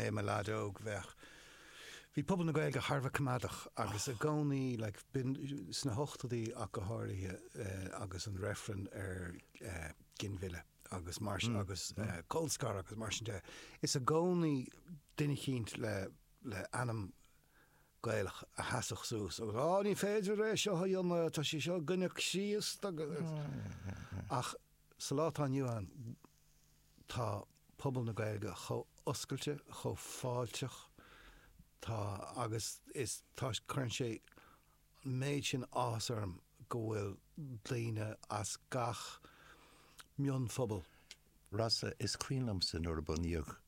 mé i mo leaid óg, bheadh, bhí pobal na Gaeilge thar a bheith coimeádach agus i gcónaí, like, b'in sna hochtóidí ach go háirithe agus an reifreann ar ginmhilleadh agus mar sin, agus colscaradh agus mar sin de, is i gcónaí duine eicínt le, le ainm Gaelach a sheasfadh suas agus á ní féidir é seo a dhéanamh, tá sé seo i gcoinne Chríost agus ach sa lá atá inniu ann tá pobal na Gaeilge chomh oscailte, chomh fáilteach, tá agus is tá cuireann sé an méid sin áthas orm go bhfuil daoine as gach mionphobal. Rossa, is cuimhin liomsa nuair a bunaíodh.